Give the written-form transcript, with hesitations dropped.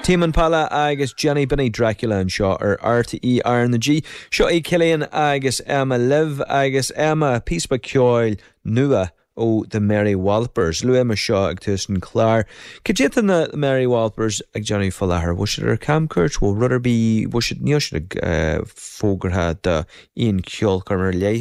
Tame Impala agus Jenny B'in í Dracula anseo ar RTÉ RnaG. Seo é Cillian agus Emma libh agus Emma, píosa beag ceoil nua ó The Mary Wallopers. Luaigh mé seo ag tús an chláir. Cad é atá na Mary Wallopers ag déanamh faoi láthair? Bhfuil siad ar camchuairt? Bhfuil rud ar bith, bhfuil siad, níl siad ag fógartha do aon cheolchoirm ar leith.